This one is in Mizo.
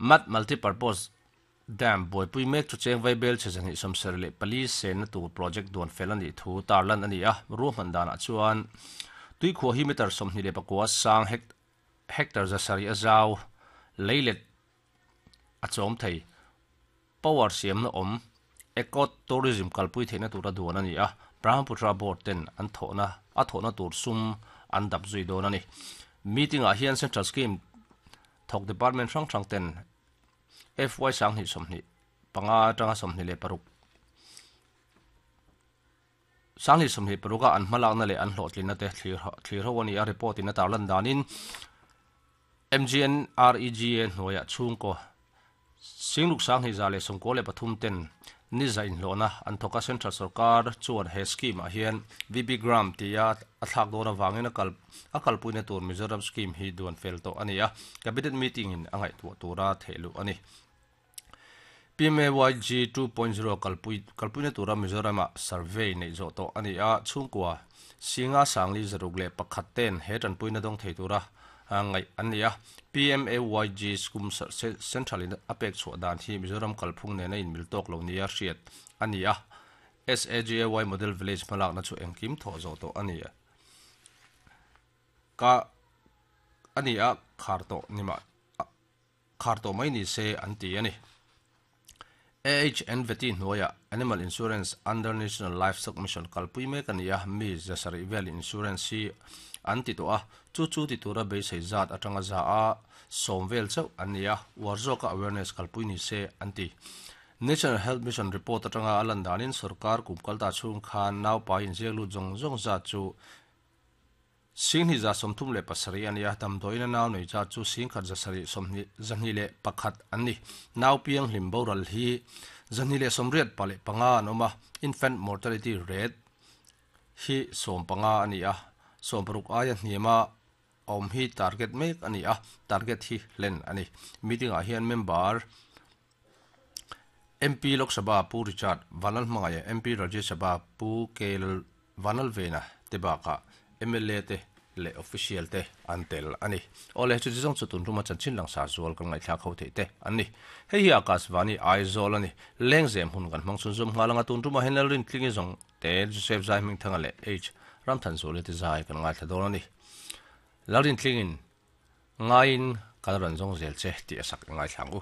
Mat Multipurpose Dam buaipui mek chu cheng vaibel chhe 274 senna tur project duan fel a nih thu tarlan a ni a, ruahman danah chuan tuikhuah hi meter 29 sang hectare 700 a zau leilet a chawm thei. Power siamna awm Eco Tourism kalpui theihna tura duan a ni a, Brahmaputra Board ten an thawhna a thawhna tur sum an dap zui dawn a ni. Meeting ah hian Central Scheme thawk department hrang hrang ten FY 2025 atanga 26 2026 a an hmalakna leh an hlawhtlinna te thlir ho a ni a, report in a tarlan danin MGNREGA hnuaiah chhungkaw Singluk 2193 ten ni za inhlawhna an thawk a, Central sorkar chuan he scheme ah hian VB Gram tia a thlak dawn avangin a kal a kalpuina tur Mizoram scheme hi duan fel tawh a ni a, Cabinet meeting in a ngaihtuah tura thehluh a ni. PMAYG 2.0 kalpui kalpuina tura Mizoram ah survey neih zawh tawh a ni a, chhungkua Singa 5061 ten he tanpuina dawng thei tura ngaih an ni a. PMAYG skum Central in a pek chhuah dan hi Mizoram kalphung nena inmil tawk lo nia hriat a ni a. SAGAY Model Village hmalakna chu engkim thawh zawh tawh a ni ka a ni a, khar tawh ni mah khar tawh mai ni se an ti a ni. AHN Veti hnuaiah Animal Insurance under National Livestock Mission kalpui mek a ni a, mi 700 vel insurance hi an ti tawh a, chu chu ti tura beisei zat atanga za a sawm vel chauh an ni a, uar zawka awareness kalpui ni se an ti. National Health Mission report atanga a lan danin sorkar kum kalta chhung khan naupai inziak lut zawng zawng zat chu 2137 a ni a, damdawiin a nau nei zat chu 17,721 an ni. Nau piang hlim boral hi 285 an awm a, infant mortality rate hi 15 a ni a, 60 aia hniama awm hi target mek a ni a, target hi hlen a ni. Meeting ah hian member MP Lok Sabha Pu Richard Vanlalhmangaia, MP Rajya Sabha Pu K Vanlalvena te bakah mla te leh official te an tel a ni. Awle, chuti zawng chu tun ruma chanchin langsar zual kan ngaihthlak ho theih te an ni. Hei hi Akashvani Aizawl a ni. Lengzem hun kan hmang chhunzawm nghal anga tun ruma hian Lalrintlingi zawng te Joseph Zaihmingthanga leh H Ramthanzuali te zai kan ngaithla dawn a ni. Lalrintlingin ngaiin kan rawn zawng zel che tih a sak i ngaithla ang u.